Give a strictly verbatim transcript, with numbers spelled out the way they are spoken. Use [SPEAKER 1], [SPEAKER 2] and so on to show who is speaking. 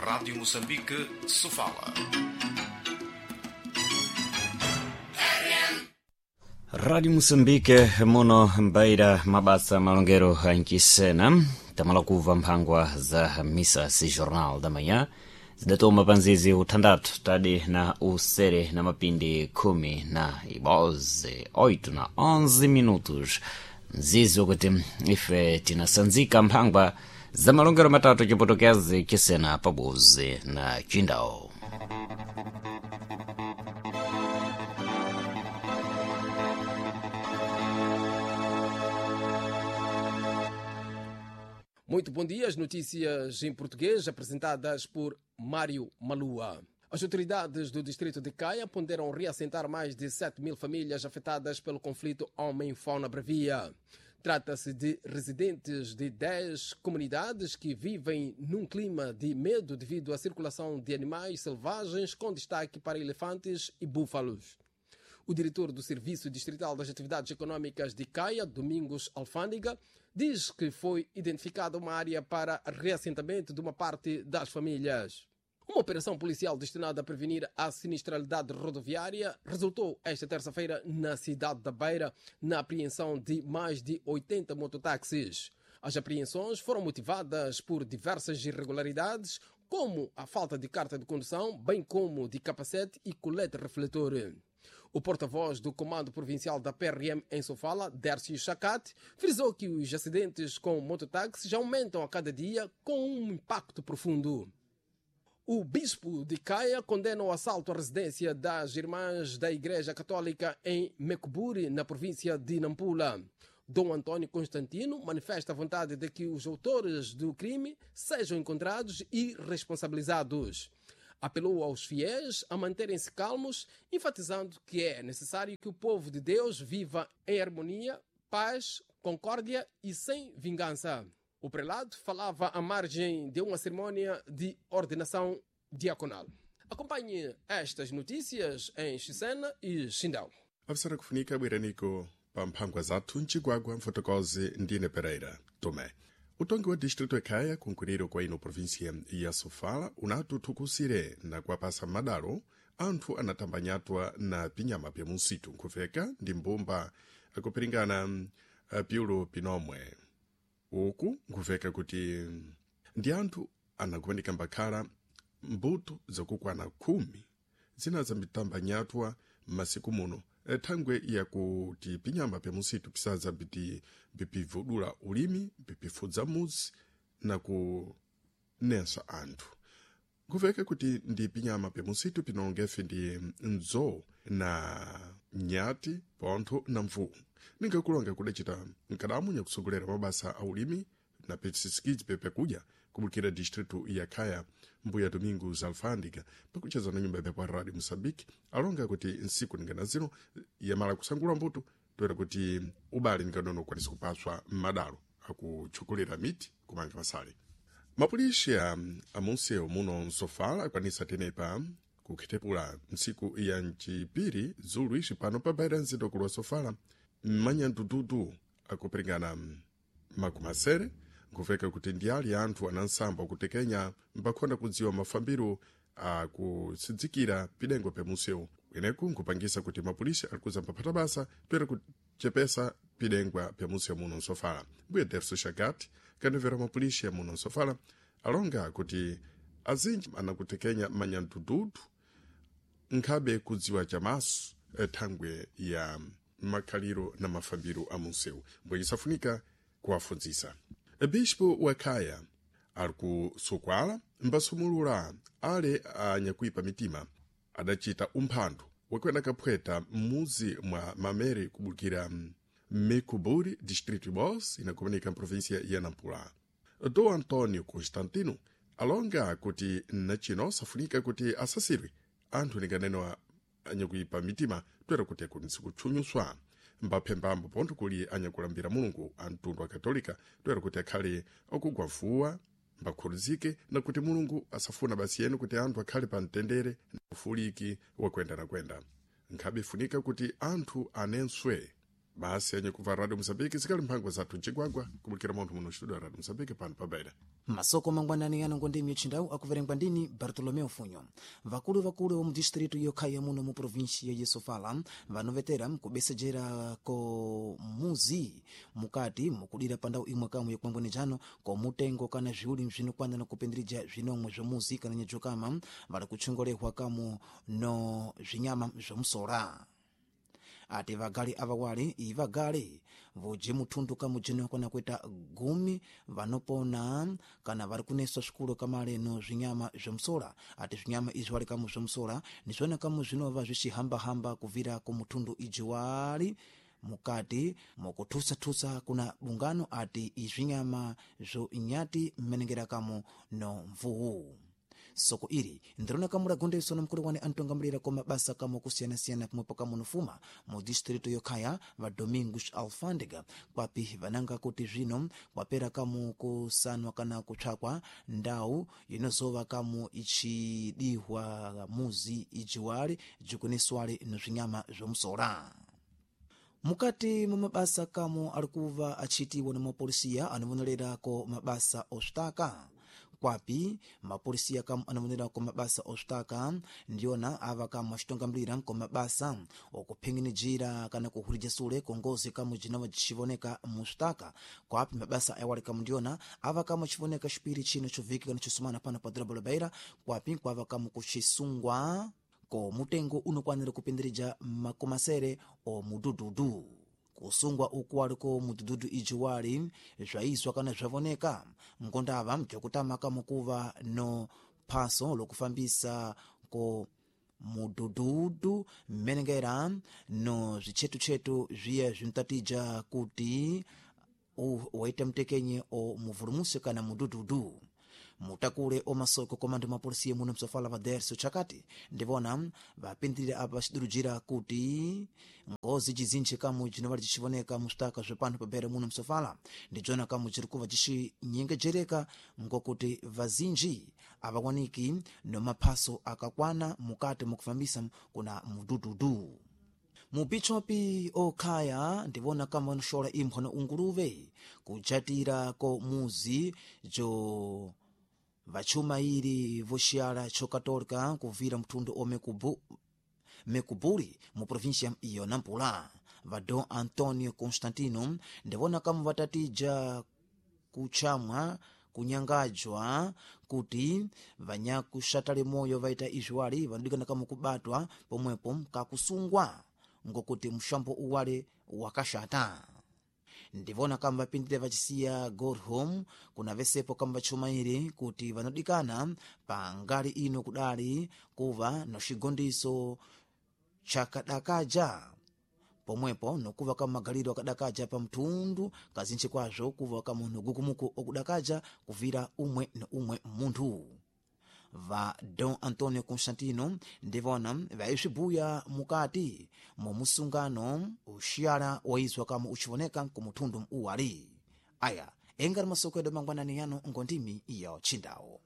[SPEAKER 1] Rádio Moçambique, Sofala.
[SPEAKER 2] Rádio Moçambique muno mbaira mabasa malongero anchisena tamala kuva mphangwa za misa si jornal da manhã zidatoma panzizi uthandathu tadi na usere na mapindi khumi na iboze oito na onze minutos mzizi wakuti ife tinasanzika mphangwa za malongero matatu chipotokezi chisena pabuzi na chindawo.
[SPEAKER 3] Muito bom dia. As notícias em português apresentadas por Mário Malua. As autoridades do distrito de Caia ponderam reassentar mais de sete mil famílias afetadas pelo conflito homem-fauna bravia. Trata-se de residentes de dez comunidades que vivem num clima de medo devido à circulação de animais selvagens, com destaque para elefantes e búfalos. O diretor do Serviço Distrital das Atividades Econômicas de Caia, Domingos Alfândega, diz que foi identificada uma área para reassentamento de uma parte das famílias. Uma operação policial destinada a prevenir a sinistralidade rodoviária resultou esta terça-feira na cidade da Beira na apreensão de mais de oitenta mototáxis. As apreensões foram motivadas por diversas irregularidades, como a falta de carta de condução, bem como de capacete e colete refletor. O porta-voz do Comando Provincial da P R M em Sofala, Dércio Chacate, frisou que os acidentes com mototáxis aumentam a cada dia com um impacto profundo. O bispo de Caia condena o assalto à residência das Irmãs da Igreja Católica em Mecuburi, na província de Nampula. Dom Antônio Constantino manifesta a vontade de que os autores do crime sejam encontrados e responsabilizados. Apelou aos fiéis a manterem-se calmos, enfatizando que é necessário que o povo de Deus viva em harmonia, paz, concórdia e sem vingança. O prelado falava à margem de uma cerimônia de ordenação diaconal. Acompanhe estas notícias em Xisena e Xindau.
[SPEAKER 4] Afisara kufunika bwiraniko pa mphangwa zathu mcigwagwa mfotokozi ndine Pereira Tomé. Utongi wa distrito ekhaya kunkwiriro kwa ino província ya Sofala unatuthukusire na kuwapasa madalo anthu anatambanyatwa na pinyama pya munsitu nkhuveka ndi mbumba akupiringana piulo pinomwe. Uku nkhuveka kuti ndi anthu anakupanika mbakhala mbuto zakukwana khumi zina zambitambanyatwa m'masiku muno thangwe yakuti pinyama pya musitu pisaza biti bipivudula ulimi bipifudza muzi na kunensa anthu. Nkuveka kuti ndi pinyama pya musitu pinongefe ndi nzowu na nyati pontho na mvuwu. Ningakulonga kudacita nkadamu nyakusogolera mabasa a ulimi na pisisikidzi pepekudya kubukira distrito ya Khaya mbuya Domingos Alfândega pakucheza na nyumba ya Radio Moçambique alonga kuti nsiku ningana zino yamala kusangula mbuto toera kuti ubale ninganono ukwanisa kupaswa m'madalo akutchukulira miti kumanga masale. Mapulisha amunsewu muno msofala akwanisa tenepa kukhethepula ntsiku ya mcipiri zulu ixi pano pabaira mzinda ukulu wa Sofala mmanyandududu akupiringana makumasere nkuveka kuti ndi ali anthu anansamba akutekenya mbakhonda kudziwa mafambiro akusidzikira pidengo pya munsewu kweneku nkupangisa kuti mapolisi alikuza mpaphata basa toera kuchepesa pidengwa pya munsewu muno msofala. Mbuye Derso Shagati kanevera mapolisi muno msofala alonga kuti azinji anakutekenya manyandududu nkhabe kudziwa chamaso thangwe ya makhaliro na mafambiro a munsewu mbwe isafunika kuwafunzisa. Bispo wa Khaya ali kusukwala mbasumulula ale anyakuipa mitima adacita umphandu wakwena kaphweta m'muzi mwa Mamere kubukira Mecuburi, distrito Bos, inakumanika mprovíncia ya Nampula. Dom Antônio Constantino alonga kuti nachino safunika kuti asasirwe anthu ninganeno anyakuipa mitima toera kuti akunisi kutchunyuswa mbaphembambo pontho kuli anyakulambira Mulungu a mtundu wa Katolika toera kuti akhale akugwavuwa mbakhuluzike na kuti Mulungu asafuna basi yenu kuti anthu akhale pa mtendere na ufuliki wakwenda na kwenda. Nkhabe ifunika kuti anthu anenswe Basi yenye kuva Radio Mozambique zikali mphangwa zathu mcigwagwa kumulikira munthu muno studio ya Radio Mozambique pano pa Beira.
[SPEAKER 5] Masoko mangwanani yano ngondimi yochindawu akuverengwa ndini Bartolomeu Funyo. Vakulu vakulu mu distritu yokhaya muno mu provinsia ya Sofala vanovetera kubesejera ko muzi mukati mukudira pandau imwe kamwe yokwangwenejano ko mutengo kana zviuli bzinokwana na kupindirija zvinomwe zvomuzi kana nyejokama vari kutchongolehwa kamu no zvinyama zvomusola. Ati vagali avawali ivagali voje muthundu kamujene kana kuita gumi vanopona kana vari kuneswa swikulu kamale no zvinyama zvomusola. Ati zvinyama izvi wali kamu zvomusola nizvona kamu zvinova zvicihambahamba kuvira ku muthundu iji wali mukati mukuthusathusa kuna bungano. Ati izvinyama zvo nyati mmenengera kamu no mvuwu. Soko ili ndirona kamula gondeso na mkulu wane antongamulira kwa mabasa kamo kusiyanasiyana pomwepo kamunofuma mu distritu yokhaya va Domingos Alfandega, kwapi vananga kuti zvino kwapera kamu kusanwa kana kupsakwa ndau inozova kamu ichidihwa muzi ijiwali jikuniswali no zvinyama zvomusola. Mukati mwa mabasa kamo ali kuva achitiwa na mapolisiya anovonererako mabasa oswitaka, kwapi mapolisiya kamu anovonererako mabasa oswitaka ndiyona ava kamu acitongamulira ko mabasa okuphinginijira kana kuhulija sule kongozi kamu jinova jicivoneka muswitaka, kwapi mabasa awali kamu ndiyona ava kamu acivoneka xipiri chino choviki kana cosumana pano pa dorobo la Beira, kwapi kwava kamu kucisungwa ko mutengo unokwanira kupindirija makomasere o mudududu. Kusungwa uku waliko mudududu iji wali zvaizwa kana zvavoneka ngondava bzokutama kamukuva no phaso lokufambisa ko mudududu mmenengera no zvitchetuchetu zviya zvinotatija kuti waita mtekenye o muvulumusi kana mudududu. Mutakule omasoko komando mapolisiya muno msofala va Derso chakati ndivona vapindirira apa vacidurujira kuti ngozi jizinji kamu jinovali jicivoneka muswitaka zvepano pabere muno msofala ndijona kamu jiri kuva jicinyengejereka ngokuti vazinji avawaniki no maphaso akakwana mukati mukufambisa kuna mudududu. Mubichopi okhaya ndivona kama vanoxola imphwa na unguluve kujatira ko muzi jo vachumairi voxiyala chokatolika kuvira mthundu o mekubu, mekubuli mu província iyo Nampula. Va Dom Antonio Constantino ndivona kama vatatija kuchamwa kunyangajwa kuti vanyakuxatale moyo vaita izviwali vanodikana kama kubatwa pomwepo kakusungwa ngokuti mxambo uwale wakaxata. Ndivona kamba vapindire vacisiya gorhom kuna vesepo kamba vachumairi kuti vanodikana pa ngali ino kudali kuva no xigondiso chakadakaja pomwepo nokuva kama magaliro akadakaja pa mthundu kazinji kwazvo kuva kamunhu gukumuku okudakaja kuvira umwe na umwe munthu. Va Dom Antonio Constantino ndivona vaisvibuya mukati momusungano uxiyala waizwa kama ucivoneka kumuthundu uwali. Aya engari masoko edu mangwanani yano ngondimi iyo chindawo.